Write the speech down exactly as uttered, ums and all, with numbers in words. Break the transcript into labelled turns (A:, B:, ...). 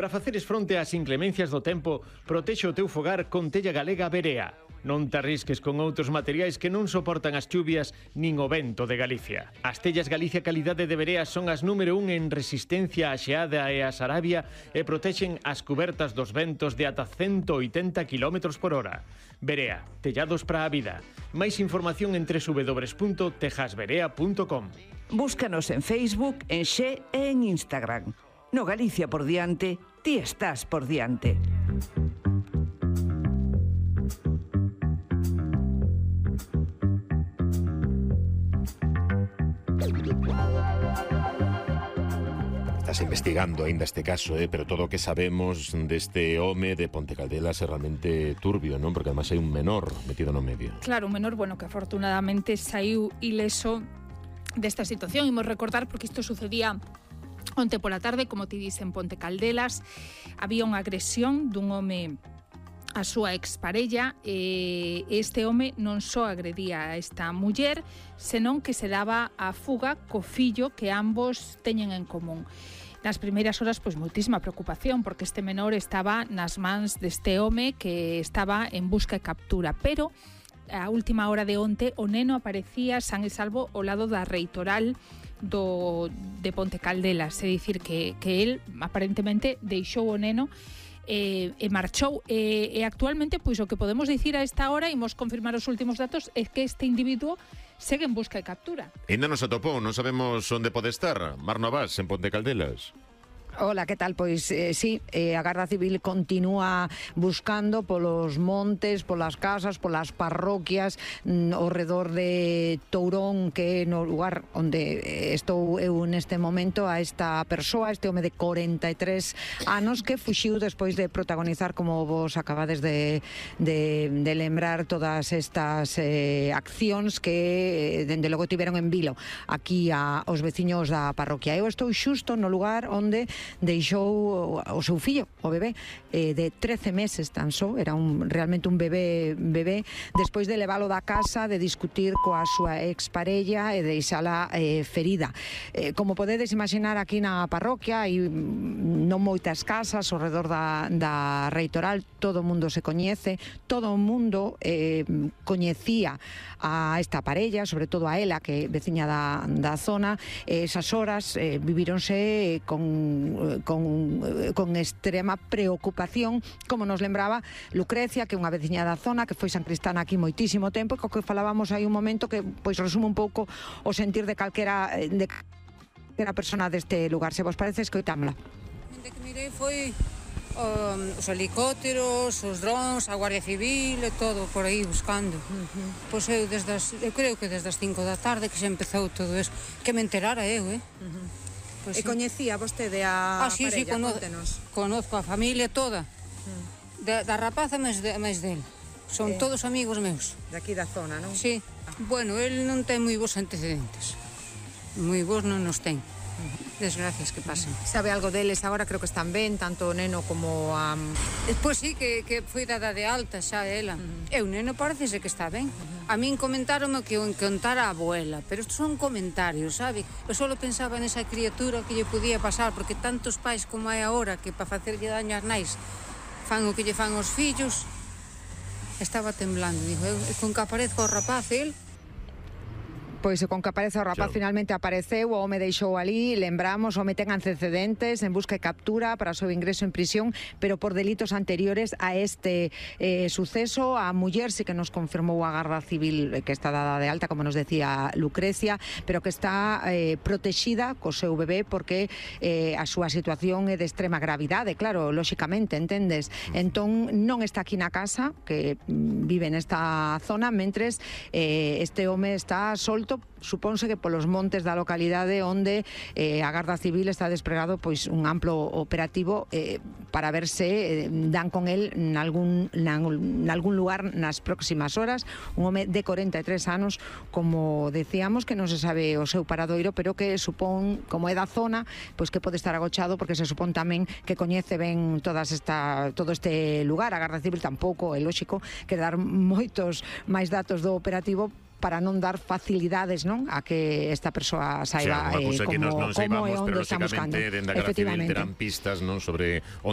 A: Para faceres fronte ás inclemencias do tempo, protexe o teu fogar con tella galega Verea. Non te arrisques con outros materiais que non soportan as chuvias nin o vento de Galicia. As tellas Galicia Calidade de Verea son as número un en resistencia á xeada e á sarabia e protexen as cubertas dos ventos de ata ciento oitenta kilómetros por hora. Verea, tellados para a vida. Máis información en doble u doble u doble u punto tejasverea punto com.
B: Búscanos en Facebook, en Xe e en Instagram. No Galicia por diante, ti estás por diante.
C: Estás investigando aínda este caso, eh? pero todo o que sabemos deste home de Ponte Caldelas é realmente turbio, non? Porque además hai un menor metido no medio.
D: Claro, un menor, bueno, que afortunadamente saiu ileso desta situación. Imos recordar porque isto sucedía onte pola tarde, como ti dis, en Ponte Caldelas. Había unha agresión dun home a súa exparella, e este home non só agredía a esta muller, senón que se daba a fuga co fillo que ambos teñen en común. Nas primeiras horas, pois, moitísima preocupación, porque este menor estaba nas mans deste home que estaba en busca e captura, pero a última hora de onte o neno aparecía san e salvo ao lado da reitoral do, de Ponte Caldelas, é dicir, que, que el aparentemente deixou o neno e, e marchou, e, e actualmente, pois, o que podemos dicir a esta hora, imos confirmar os últimos datos, é que este individuo segue en busca e captura.
C: Ainda non se atopou, non sabemos onde pode estar. Mar Novas, en Ponte Caldelas.
E: Hola, que tal? Pois eh, sí, eh, a Garda Civil continúa buscando polos montes, polas casas, polas parroquias mm, ao redor de Tourón, que é no lugar onde estou eu neste momento, a esta persoa, este home de corenta e tres anos, que fuxiu despois de protagonizar, como vos acabades de, de, de lembrar, todas estas eh, accións que, dende logo, tiveron en vilo aquí a, aos veciños da parroquia. Eu estou xusto no lugar onde deixou o seu fillo, o bebé, eh, de trece meses tan só, era un, realmente un bebé, bebé, despois de leválo da casa, de discutir coa súa exparella e deixala eh, ferida. Eh, como podedes imaginar, aquí na parroquia hai non moitas casas ao redor da, da reitoral, todo o mundo se coñece, todo o mundo eh, coñecía a esta parella, sobre todo a ela, que é veciña da, da zona. Esas horas eh, vivíronse con Con, con extrema preocupación, como nos lembraba Lucrecia, que é unha veciña da zona, que foi sancristana aquí moitísimo tempo, e co que falábamos hai un momento que pois resume un pouco o sentir de calquera de calquera persona deste lugar. Se vos parece, escoitámola.
F: O que mirei foi um, os helicópteros, os drones, a Guardia Civil e todo por aí buscando. Uh-huh. Pois eu, desde as, eu creo que desde as cinco da tarde que xa empezou todo eso, que me enterara eu, eh? Uh-huh.
E: Pues e sí. Coñecía vostede a
F: ah, sí,
E: parella?
F: Sí, cono conozco a familia toda, mm. da, da rapaza máis, de, máis del. Son eh, todos amigos meus.
E: De aquí da zona, non?
F: Sí. Ah. Bueno, el non ten moi bons antecedentes. Moi bons non nos ten. Desgracias que pasen.
E: Sabe algo deles agora? Creo que están ben, tanto o neno como a...
F: Pois sí, que, que foi dada de alta xa ela. Uh-huh. E o neno parece que está ben. Uh-huh. A min comentaronme que o encontara a abuela, pero estos son comentarios, sabe? Eu só pensaba nesa criatura que lle podía pasar, porque tantos pais como hai agora que para facerlle daño ás nais fan o que lle fan os fillos. Estaba temblando, digo, eu con que aparezca o rapaz, el...
E: Pois con que aparece o rapaz, claro. Finalmente apareceu, o home deixou ali, lembramos, o home ten antecedentes en busca e captura para o seu ingreso en prisión, pero por delitos anteriores a este eh, suceso. A muller sí que nos confirmou a Garda Civil que está dada de alta, como nos decía Lucrecia, pero que está eh, protexida co seu bebé porque eh, a súa situación é de extrema gravidade, claro, lóxicamente, entendes? Entón non está aquí na casa, que vive nesta zona, mentres eh, este home está solto, supónse que polos montes da localidade, onde eh, a Garda Civil está despregado pois un amplo operativo eh, para ver se eh, dan con el nalgún, nalgún lugar nas próximas horas. Un home de corenta e tres anos, como decíamos, que non se sabe o seu paradoiro, pero que supón, como é da zona, pois que pode estar agochado, porque se supón tamén que coñece ben todas esta, todo este lugar. A Garda Civil tampouco, é lóxico, que dar moitos máis datos do operativo, para non dar facilidades, non, a que esta persoa saiba
C: xa,
E: eh,
C: como,
E: como,
C: nos, nos
E: como e
C: saibamos,
E: onde
C: pero
E: está buscando.
C: lógicamente dende a Garda Civil terán pistas, non, sobre onde